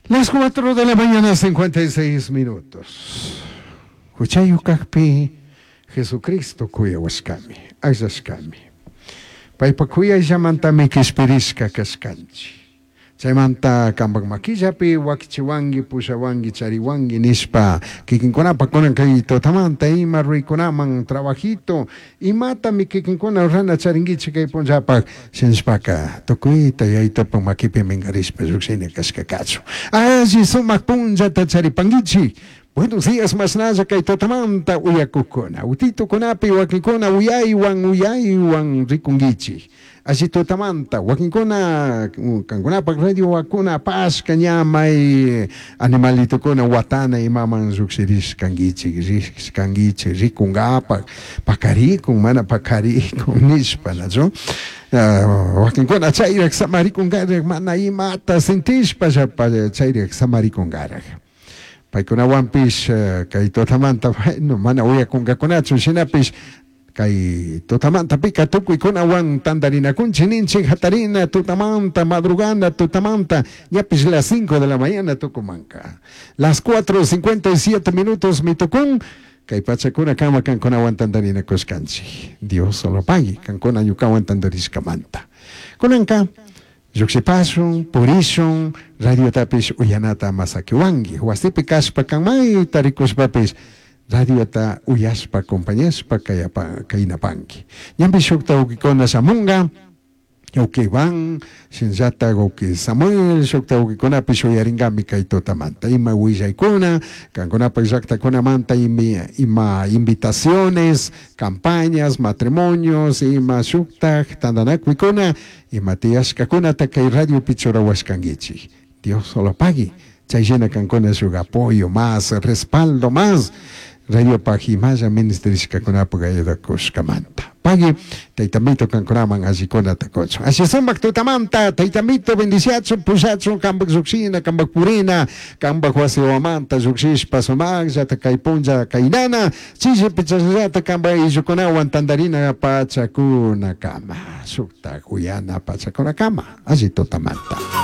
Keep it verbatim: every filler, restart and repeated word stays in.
Las cuatro de la mañana, cincuenta y seis minutos. Huchayu kajpi Jesucristo kuyawashkami, akllashkami. Paypa kuyayllamantami kishpirishka kashkanchik. Chaymanta kampak makillapi wakichiwanki, pushawanki, chariwanki nishpa kikinkunapa kunan kay tutamanta ima ruraykunaman, trabajito, imatami kikinkuna rurana charinkichik kay punllapak shinashpaka tukuyta Yayitupak makipi minkarishpa llukshina kashka kachun. Alli sumak punllata charipankichik. Buenos días, mashnalla kay tutamanta uyakukuna. Utitukunapi wakinkuna uyaywan uyaywan rikunkichik. Alli tutamanta wakinkuna kankunapak radio wakuna apashka ña may animalitukuna watana imaman llukshirishkankichik, rishkankichik rikunkapak, pakarikun mana pakarikun nishpa, nachu? Wakinkuna chayrak samarikunkarak, mana imata sintishpa chayrak samarikunkarak. Paykunawanpish kay tutamanta, bueno, mana uyakunkakunachu, shinapish kay tutamantapika tukuykunawan tantarinakunchik ninchik hatarina tutamanta, madrugana tutamanta, ñapish las cinco de la mañana tukumanka. Las cuatro cincuenta y siete minutos mitukun kay pachakuna kama kankunawan tantarinakushkanchik. Dios solo pagui kankuna ñukawan tantarishkamanta. Kunanka llukshipashun, purishun, radiotapish uyanata masakiwanki. Wasipi kashpa kan mayta rikushpapish radiota uyashpa, acompañashpa kaynapanki. Ñampi shukta wawkikuna shamunga, wawki Iván, shinallata wawki Samuel, shukta wawkikunapish uyaringami kay tutamanta. Ima willaykuna, kankunapak llaktakunamanta ima, ima invitaciones, campañas, matrimonios, ima shuktak tantanakuykuna, ima tiyashkakunata kay radiopi churawashkankichik. Dios solo pagui. Chay shina kankuna shuk apoyo más, respaldo más, radiopak imalla ministerishkakunapak ayudakushkamanta. Pagui, Tayta kankunaman allikunata kuchun. Alli sumak tutamanta, Tayta bendiciachun, pushachun, kampak llukshina, kampak purina, kampak wasiwamanta llukshishpa sumakllata kay punlla kaynana, chishipi chashnallata kampak ayllukunawan tantarina pachakunakama, shuktak uyana pachakunakama, alli tutamanta.